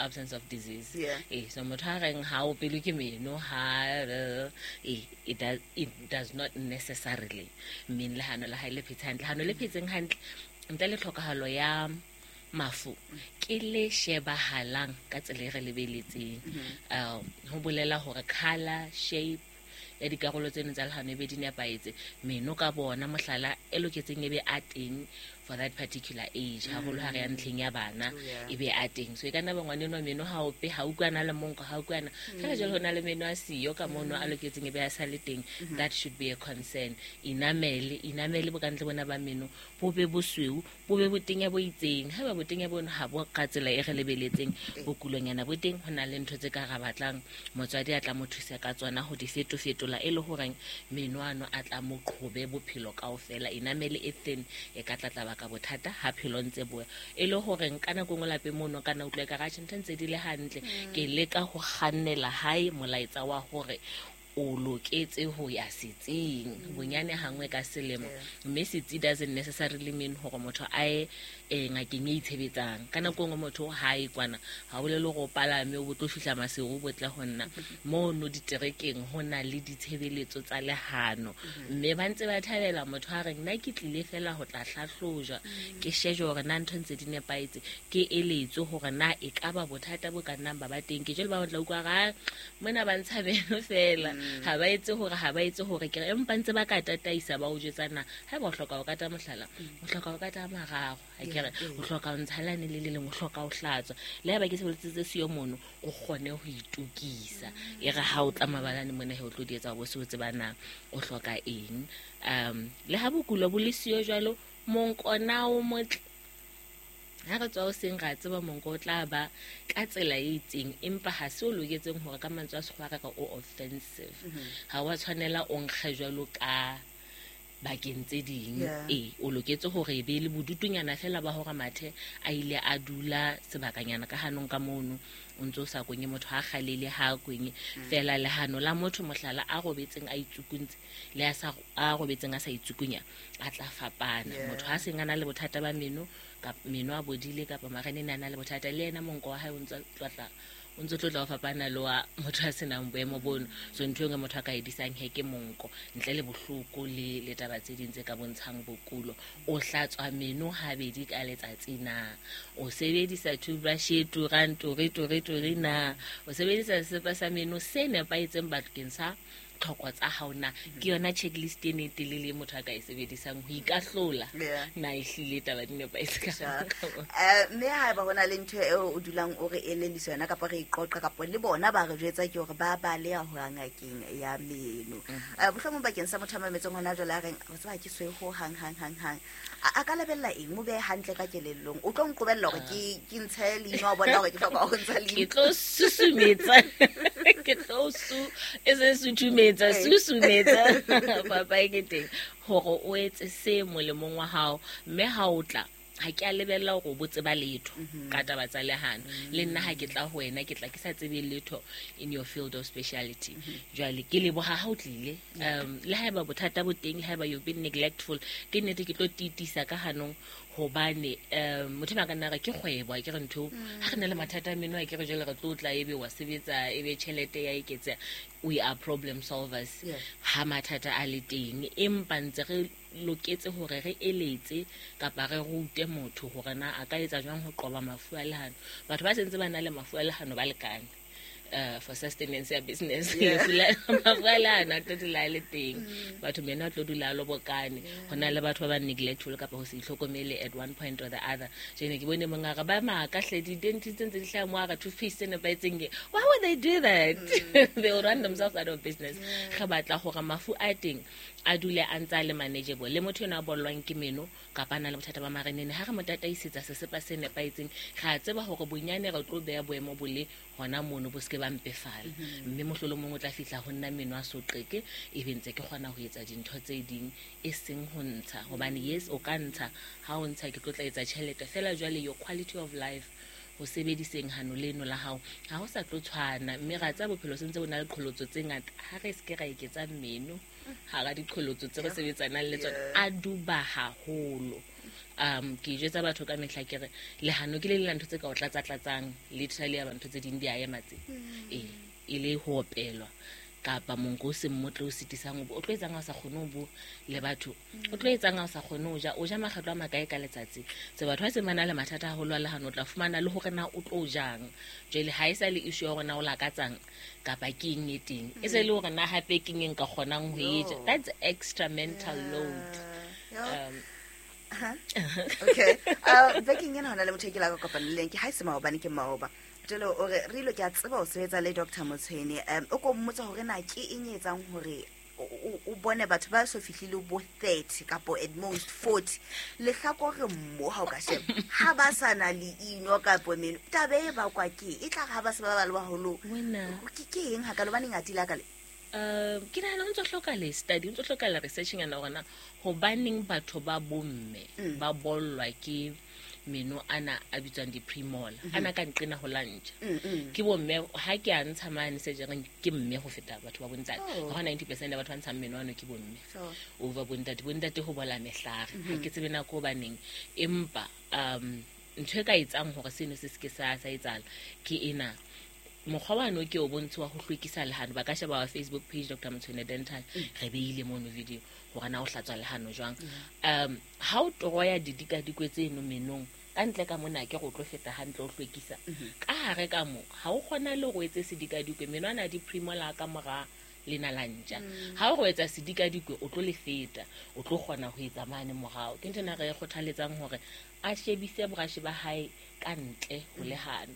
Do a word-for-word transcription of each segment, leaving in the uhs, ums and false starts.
absence of disease. Yeah. Eh, so motho a reng ha o pelo ke meno ha eh, it does, it does not necessarily mean lehano la hae le phetse hantle. Lehano le phetseng hantle ntle le tlhokahalo ya mafu ke le shebahalang ka tsela e re lebeletseng. Uh, ho bolela hore color, shape ya dikarolo tseno tsa lehano e be di nepahetse, meno ka bona mohlala e loketseng e be a teng for that particular age, haholo ha re ya ntlheng ya bana Yeah. e be a teng. So e ka nna ba ngwanenwa meno ha ope, ha utlwana le monko, ha utlwana fela jwale ho na le meno a siyo ka mono a loketseng e be a sa le teng. That should be a concern. Enamel, enamel bo ka ntle bona ba meno bo be bosweu, bo be botenya bo itseng. Haeba botenya bono ha bo ka tsela e re lebeletseng, bokulonyana bo teng, ho na le ntho tse ka ra batlang motswadi a tla mo thusa ka tsona ho di fetofetola e le horeng meno ano a tla mo qhobe bophelo kaofela. Enamel e thin e ka tla tla baka bothata ha phelo ntse boya, e le horeng ka nako e nngwe lapeng mono ka nna utlwa ekare atjhe ntho ntse di le hantle, ke leka ho kgannela hae molaetsa wa hore o loketse ho ya setsing bonyane hangwe ka selemo. Mme setsi doesn't necessarily mean hore motho a ye eh, ngakeng e itshebetsang. Ka nako e nngwe motho ha e kwana ha o bolele hore o palame o bo tlo fihla Maseru bo tla ho nna mono diterekeng, ho na le ditshebeletso tsa lehano, mme ba ntse ba thabela motho a reng nna ke tlile fela ho tla hlahlojwa, ke shebe hore na ntho ntse di nepahetse, ke eletswe hore na e ka ba bothata bo ka nnang ba ba teng. Ke jwale ba tla utlwa hore, ah, mona ba ntsha meno fela, ha ba etse hore, ha ba etse hore ke re, empa ntse ba ka tataisa ba o jwetsa na haeba o hloka ho kata mohlala, o hloka ho kata mararo, ha ke re o hloka ho ntsha lane le le leng, o hloka ho hlatswa, le haeba ke sebeletse tse siyo mono o kgone ho itokisa. E re ha o tla mabalane mona he o tlo di etsa bo se o tseba na o hloka eng. Um, le ha bokulo bo le siyo jwalo, monko na o motle ha re tswa hoseng ra tseba monko o tla ba ka tsela e itseng, empa ha se o loketseng hore ka mantswe a sekgowa re re o offensive. Ha wa tshwanela o nkge jwalo ka bakeng tse ding. Yeah. E, o loketse hore e be le bodutunyana fela ba hore mathe a ile a dula sebakanyana ka hanong ka mono, o ntso sa kwenye motho ha kgalele ha kwenye fela lehano la motho mohlala a robetseng a itsukuntse le a sa a robetseng a sa itsukunya a tla fapana. Yeah. Motho ha seng a na le bothata ba meno, kapa meno a bodile kapa marenene a na le bothata, le yena monko wa hae o ntse tlotla o ntse tlotla ho fapana le wa motho a senang boemo bono. So ntho e nngwe motho a ka e disang he ke monko, ntle le bohloko le, le taba tse ding tse ka bontshang bokulo. O hlatswa meno habedi ka letsatsi na? O sebedisa toothbrush e turang ture ture ture na? O sebedisa sesepa sa meno se nepahetseng bakeng sa tlhoko tsa hao na? Ke yona checklist e ne telele e motho a ka e sebedisang ho ikahlola Yeah. na ehlile taba di nepahetse ka Sure. ka bona. Eh, mme haeba ho na le ntho eo o dulang o re elelliswa yona kapa re e qoqa kapa le bona ba re jwetsa ke hore ba baleha ho ya ngakeng ya meno. Eh, mohlomong bakeng sa motho a mametseng hona jwale a reng, wa tseba ha ke swe ho hang, hang, hang, hang. A, a ka lebella eng? Mo behe hantle ka kelellong. O tlo nqobella hore ke, ke ntshe leino, a bona hore ke hloka ho ntsha leino. Ke tlo susumetsa. Ke tlo su, e se suthumetsa, Eh. susumetsa. Papa e ke teng hore o etse se molemong wa hao, mme ha o tla ha ke a lebella hore o bo tseba letho ka taba tsa lehano. Le nna ha ke tla ho wena, ke tla ke sa tsebe letho in your field of speciality. Jwale ke leboha ha o tlile. Um, le haeba bothata bo teng, le haeba you've been neglectful, ke nnete ke tlo titisa ka hanong hobane, um, motho a ka nna re ke kgwebo, ha ke re ntho, ha re na le mathata a meno, ha ke re jwale re tlo tla ebe wa sebetsa, ebe tjhelete ya eketseha. We are problem solvers. Yeah. Ha mathata a le teng, empa ntse re loketse hore re eletse kapa re rute motho hore na a ka etsa jwang ho qoba mafu a lehano. Batho ba sentse ba na le mafu a lehano ba lekane. Uh, for sustenance ya business. Yeah. Lefu la mafu a lehano a tlo dula a le teng. Batho meno a tlo dula a lobokane. Ho na le batho ba ba neglectful kapa ho se itlhokomele at one point or the other. Jwale ke bone mongaka ba maka hle di-dentist tse ntse di hlaha mo a re toothpaste e nepahetseng ke. Why would they do that? They will run themselves out of business. Re batla hore mafu a teng a dule a ntse a le manageable. Le motho enwa a bollwang ke meno kapa a na le bothata ba marenene, ha re mo tataisetsa sesepa se nepahetseng, re a tseba hore bonyane re tlo beha boemo bo le hona mono bo se ke ba mpefala. Mme mohlolomong o tla fihla ho nna meno a soqeke, ebe ntse ke kgona ho etsa dintho tse ding e seng ho ntsha. Hobane yes, o ka ntsha, ha o ntsha ke tlo tla etsa tjhelete fela, jwale your quality of life ho sebediseng hano leno la hao ha ho sa tlo tshwana. Mme ra tseba bophelo se ntse bo na le qholotso tse ngata, ha re se ke ra eketsa meno hara diqholotso tse re sebetsanang le tsona, a duba haholo. Um ke jwetsa batho ka mehla ke re lehano ke le le ntho tse ka o tlatsa-tlatsang literally ya bantho tse ding di a ema tse. Ee, e le ho opelwa kapa monko o seng motle o sitisang o tlo etsang ha o sa kgone ho bua le batho, o tlo etsang ha o sa kgone ho ja, o ja makgetlo a makae ka letsatsi. Se batho ba seng ba na le mathata haholo a lehano, o tla fumana le hore na o tlo jang. Jwale ha e sa le issue ya hore na o lakatsang kapa ke eng e teng, e se le hore na hape ke eng e nka kgonang ho e ja. That's extra mental load. Um, okay. Uh, bekeng ena hona le motho e ke la ka kopana le eng, ke ha e se maobane ke maoba. Jwale o re re ilo ke a tseba o sebetsa le Doctor Motshwene. Um o ko mmotsa hore na ke eng e etsang hore o bone batho ba so fihlile bo thirty kapo at most forty lehlakore mo ha o ka sheba ha ba sa na le ino kapo meno taba e bakwa ke e tla ha ba se ba ba le baholo ke ke eng ha ka lo baneng atile ka le. Um ke nahana ho ntso hloka le study, ho ntso hloka le researching ana hore na hobaneng batho ba bomme ba bollwa ke meno ana a bitswang di-premolar, ana ka nqena ho lantja. Ke bomme ha ke a ntsha mane se jereng ke mme ho feta batho ba bontate. Ga ninety percent ya batho ba ntshang meno ano ke bomme over bontate. Bontate ho bola mehlare, ha ke tsebe nako hobaneng, empa um ntho e ka etsang hore seno se seke sa sa etsahala ke ena. Mokgwa wa no ke o bontshiwa ho hlwekisa lehano. Ba ka sheba wa Facebook page Doctor Motshwene Dental, re beile mono video hore na o hlatswa lehano jwang. Um ha o toroya didikadikwe tseno menong ka ntle ka mona ke go tlo feta hantle o hlwekisa ka hare ka mo, ha o kgona le go etse sedikadikwe meno ana di premolar ka mora lena la ntja. Ha o go etsa sedikadikwe o tlo le feta, o tlo kgona ho etsa mane morao. Ke ntho ena re kgothaletsang hore a shebise brush ba hae ka ntle ho lehano,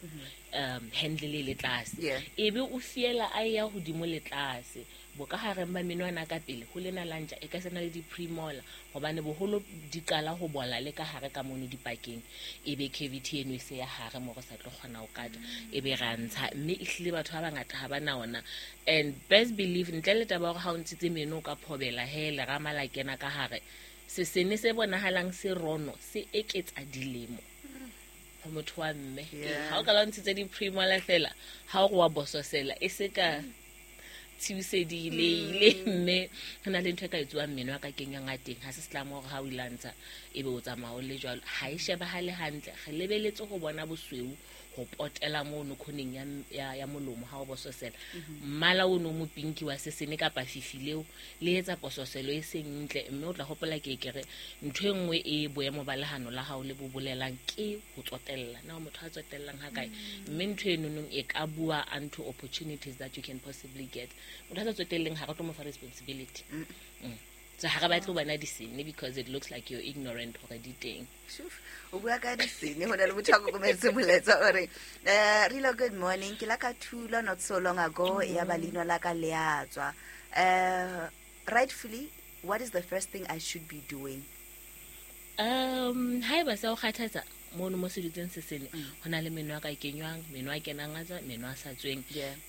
um handle le le tlase, ebe o fiela a ya hodimo le tlase bo ka hare ba meno ana ka pele ho lena la ntja e ka sena le di-premolar, hobane boholo di qala ho bola le ka hare ka mono dipakeng, ebe cavity eno e se ya hare mo re sa tlo kgona ho kata, ebe ra ntsha. Mme ehlile batho ba bangata ha ba na ona. And best believe ntle le taba hore ha o ntshitse meno o ka phobela he le ramala kena ka hare, sesene se bonahalang se rono se eketsa dilemo ho motho wa mme. Ha o ka la ntshitse di-premolar fela, ha o re wa bososela e se ka tshiusedile ile, mme ho na le ntho e ka etsuwang meno a ka kenyang a teng. Ha se setlamo hore ha o ilantsha ebe o tsamaya o le jwalo, ha e shebahale hantle. Re lebeletse ho bona bosweu ho potela mono khoneng ya, ya, ya molomo ha o bososela. Mmala o no mo pinki wa sesene kapa fifi leo le etsa pososelo e seng ntle. Mme o tla hopola ke ke re ntho e nngwe e boemo ba lehano la hao le bo bolelang ke ho tsotella. Na motho a tsotellang ha kae? Mme ntho eno nong e ka bua onto opportunities that you can possibly get. Motho a sa tsotelleng ha re tlo mo fa responsibility. Mm. So ha re batle ho bona disene because it looks like you're ignorant hore di teng. O bua ka disene, ho na le motho a kokometse molaetsa o re, eh Rilo, good morning, ke la ka thula not so long ago ya ba leino la ka le a tswa. Eh rightfully, what is the first thing I should be doing? Um haeba sa o kgathatsa mono mo se dutseng sesene, ho na le meno a ka kenywang, meno a kenang a tswa, meno a sa tsweng.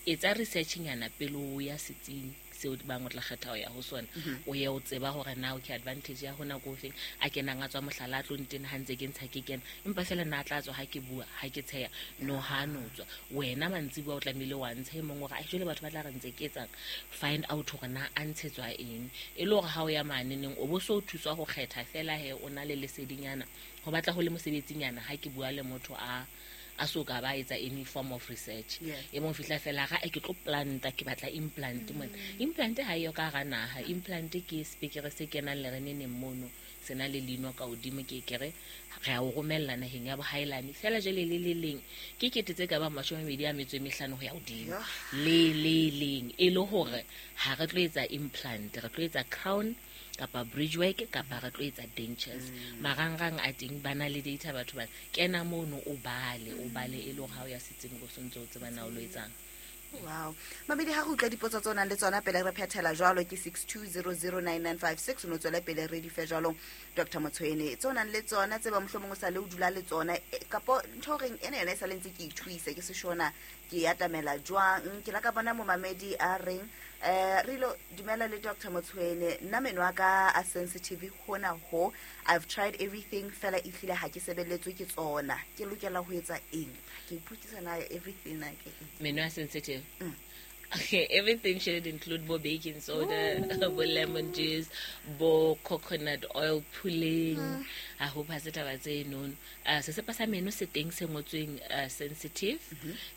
Etsa researchnyana pele o ya setsing seo bang o tla kgetha ho ya ho sona, o ye o tseba hore na o ke advantage ya hona ko feng a kenang a tswa mohlala a tlo ntena ha ntse ke ntsha ke kena, empa fela nna a tla tswa ha ke bua ha ke tsheya no ha no tswa. Wena mantsibuwa o tlamehile wa ntsha e mong hore a jwale batho ba tla re ntse ke etsang, find out hore na a ntshetswa eng, e le hore ha o ya maneneng o bo so thuswa ho kgetha fela he o na le lesedinyana ho batla ho le mosebetsinyana. Ha ke bua le motho a a so ka ba etsa any form of research, e mong fihla fela ga e ke tlo planta ke batla implant mona. Implant ha eyo ka hara naha. Implant ke speaker se kenang le reneneng mono sena le leino ka hodimo, ke kere re a o romella naheng ya bohaelane fela jele le le leng ke kete tse ka ba mashome a mabedi a metso e mehlano ho ya hodimo le le leng, e le hore ha re tlo etsa implant, re tlo etsa crown kapa bridge work kapa re tlo etsa dentures. Marangrang a teng ba na le data batho ba kena mono o bale o bale e le hore ha o ya setseng o sontse o tseba na o lo etsang. Wow. Mamedi ha re utlwa dipotso tse o nang le tsona pele re phethela jwalo ke six two zero zero nine nine five six, o no tswele pele re di fe jwalo Doctor Motshwene tse o nang le tsona tse ba mohlomong o sa le o dula le tsona, kapo ntho o reng ena yona e sa le ntse ke ithuisa ke seshona ke atamela jwang. Ke la ka bona momamedi a reng eh Rilo dumela le Doctor Motshwene, nna meno a ka a sensitive hona ho, I've tried everything fela e hlile ha ke sebeletswe ke tsona, ke lokela ho etsa eng? Ke iputsisa na everything na ke meno a sensitive. Mm. Okay, everything should include bo baking soda, bo lemon juice, bo coconut oil pulling. Mm. I hope ha se taba tse nono. Uh, sesepa sa meno se teng se ngotsweng uh, sensitive,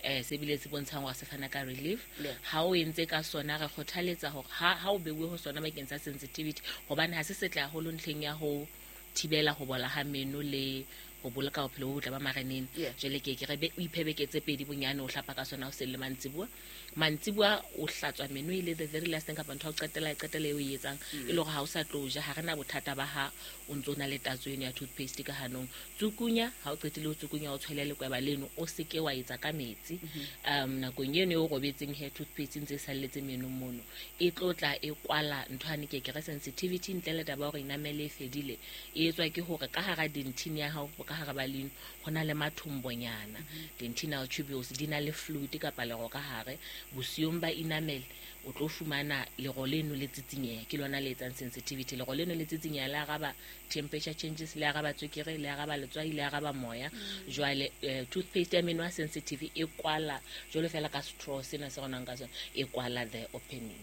eh se bile se bontshang hore se fana ka relief. Ha o entse ka sona re kgothaletsa hore ha ha o beuwe ho sona bakeng sa sensitivity, hobane ha se setle haholo ntlheng ya ho thibela ho bola ha meno le ho boloka bophelo bo botle ba mareneng. Jwale ke ke re o iphe beke tse pedi bonyane o hlapa ka sona o se le mantsibuwa. Mantsibuwa o hlatswa meno e le the very last thing kapa ntho ya ho qetela e qetela eo e etsang, e le hore ha o sa tlo ja, ha re na bothata ba ha o ntso na le tatso eno ya toothpaste ka hanong. Tsukunya, ha o qetile ho tsukunya o tshwele lekweba leno, o seke wa etsa ka metsi. Um nakong eno eo o robetseng he toothpaste ntse e salletse menong mono, e tlo tla e kwala ntho ane ke ke re sensitivity ntle le taba ya hore enamel e fedile, e etswa ke hore ka hara dentine ya hao, ka hara balino ho na le mathombonyana. Dentinal tubules di na le fluid kapa lero ka hare. Bosiung ba enamel o tlo fumana lero leno le tsitsinyeha, ke lona le etsang sensitivity. Lero leno le tsitsinyeha le araba temperature changes, le araba tswekere, le araba letswai, le araba moya. Jwale eh, toothpaste ya meno a sensitive e kwala jwalo fela ka straw sena se ronang ka sona, e kwala the opening.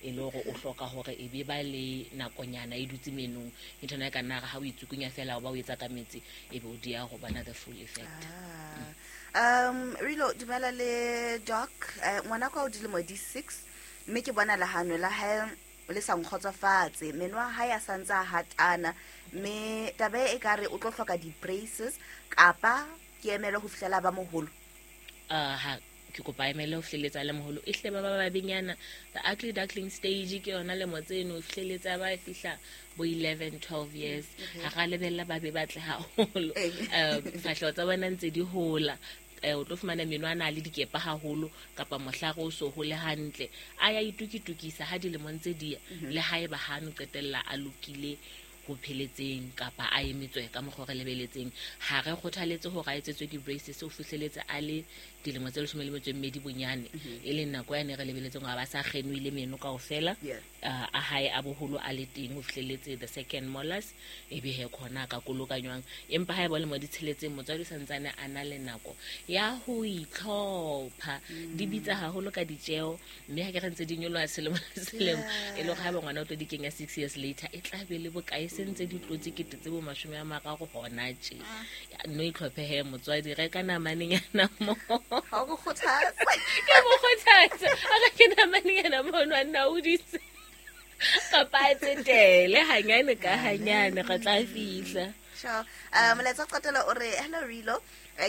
E le hore o hloka hore e be ba le nakonyana e dutse menong. Ntho ena e ka nna ha o itsukunya fela o ba o etsa ka metsi, e be o dia ho bana the full effect. Ah. Um Rilo, dumela le doc, eh, ngwana ka o dilemo di six, mme ke bona lehano la hae le sa nkgotsofatse, meno a hae a santse a hatana, mme taba e ka re o tlo hloka di-braces kapa ke emele ho fihlela ba moholo. Uh, ha ke kopa emele ho fihleletsa le moholo, e hle ba ba babenyana the ugly duckling stage ke yona lemo tseno, fihleletsa ba fihla bo eleven twelve years. Ha ra lebella ba be batle haholo, um fahleho tsa bona ntse di hola. O tlo fumana meno a na le dikepa haholo kapa mohlare o so hole hantle, a ya itukitukisa ha dilemong tse dia, le haeba ha no qetella a lokile ho pheletseng kapa a emetswe ka mokgwa re lebeletseng. Ha re kgothaletse hore a etsetswe di-braces o fihleletse a le dilemo tse leshome le metso e mmedi bonyane, e leng nako yane re lebeletseng hore ba sa kgenwile meno kaofela, a hae a boholo a le teng ho fihleletse the second molars, e be he khona ka kolokanywang. Empa ha e ba lemo di tsheletseng, motswadi santsane a na le nako ya ho itlhopha. Di bitsa haholo ka ditjeo, mme ha ke re ntse di nyoloha selemo le selemo, e le hore ha ba ngwana o tlo di kenya six years later, e tla be le bokae se ntse di tlotse kete tse bo mashome a mararo hona tje. No itlhophe he motswadi, reka namanenyana mo. Ha o kgothatsa. Ke mo kgothatsa. A re ke namanenyana mo no nna o ditse. Kapa a tsetele hanyane ka hanyane re tla fihla. Sure. Uh, molaetsa qetelo o re, hello Rilo,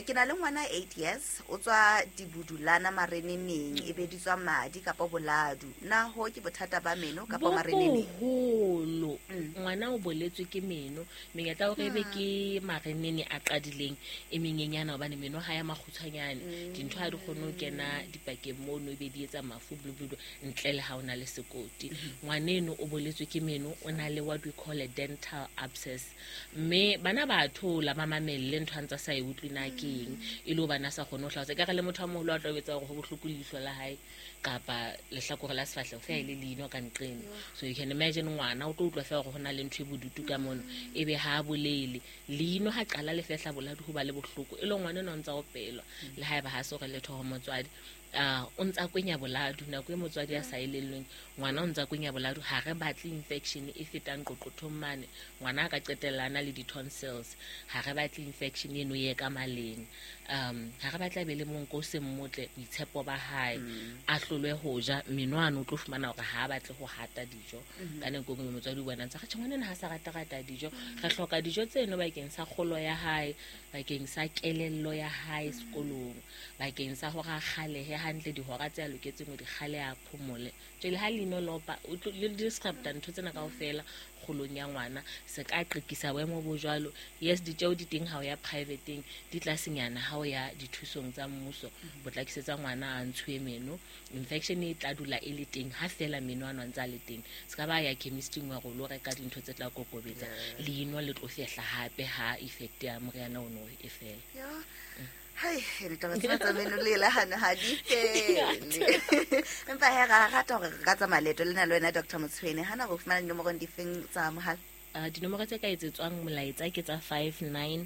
ke na le ngwana eight years, o tswa dibudulana mareneneng, e be di tswa madi kapa boladu. Na ho ke bothata ba meno kapa mareneneng? Boholo. Ngwana o boletswe ke meno, menyetla hore ebe ke marenene a qadileng e menyenyana, hobane meno ha ya makgutshwanyane, dintho ha di kgone ho kena dipakeng mono e be di etsa mafu blublu ntle le ha o na le sekoti. Ngwaneno o boletswe ke meno, o na le what we call a dental abscess. Mme bana ba thola ba mamelle ntho a ntsa sa e utlwe na keng, e le bana sa kgone ho hlalosa. Ka re le motho a moholo a tlo etsa hore ho bohloko leihlo la hae kapa lehlakore la sefahleho fela le leino ka nqeng. So you can imagine ngwana o tlo utlwa fela hore ho na le ntho e bodutu ka mono, ebe ha a bolele leino ha qala le fehla boladu ho ba le bohloko, e le ngwana eno ntsa opelwa le haeba ha se hore letho ho motswadi. Uh, o ntsa kwenya boladu nako e motswadi a sa elellweng, ngwana o ntsa kwenya boladu. Ha re batle infection e fetang qoqothong mane, ngwana a ka qetella a na le di-tonsils. Ha re batle infection eno ye ka maleng. Um ha re batle be le monko o seng motle, boitshepo ba hae a hlolwe ho ja meno ano, o tlo fumana hore ha a batle ho hata dijo. Ka nako e nngwe motswadi o bona ntse re tjhe ngwana ena ha sa rata rata dijo. Re hloka dijo tseno bakeng sa kgolo ya hae, bakeng sa kelello ya hae sekolong, bakeng sa hore a kgalehe hantle dihora tse a loketseng ho di kgale a phomole. Jwale ha leino lopa o tlo le disrupt ntho tsena kaofela kgolong ya ngwana, se ka qekisa boemo bo jwalo. Yes, ditjeo di teng ha o ya privateng, di tlasenyana ha o ya dithusong tsa mmuso, potlakisetsa ngwana a ntshuwe meno. Infection e tla dula e le teng ha fela meno a no ntse a le teng. Se ka ba ya chemisting wa go lo reka dintho tse tla kokobetsa leino le tlo fehla hape ha effect ya moriana ono e fela. Yeah. Hai, ditaba tsena tsa meno le la hana ha di fele. Empa he ra rata hore re ka tsamaya leeto lena le wena Doctor Motshwene. Hana go fumana dinomoro difeng tsa mohala? Uh, dinomoro tse ka etsetswang molaetsa ke tsa five nine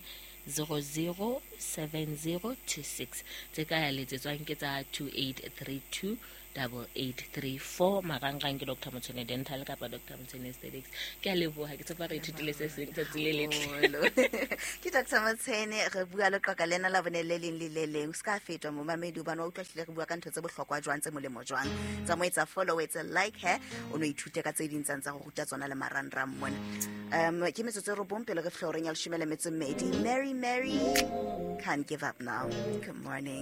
zero zero seven zero two six. Tse ka ya letsetswang ke tsa two eight three two double eight three four. Marangrang ke Doctor Motshene Dental kapa Doctor Motshene Aesthetics. Ke a leboha, ke tshepa re ithutile se seng tsatsi le letle. Ke Doctor Motshene, re bua le qoqa lena la bone le leng le le leng. O ska fetwa momamedi hobane wa utlwa hlile re bua ka ntho tse bohlokwa jwang, tse molemo jwang. Tsa mo etsa follow, etsa like he, o no ithute ka tse ding tsa ntsa go ruta tsona le marangrang mona. Um ke metsotso e robong pele re fihla horeng ya leshome le metso e mmedi. Mary, Mary, can't give up now. Good morning.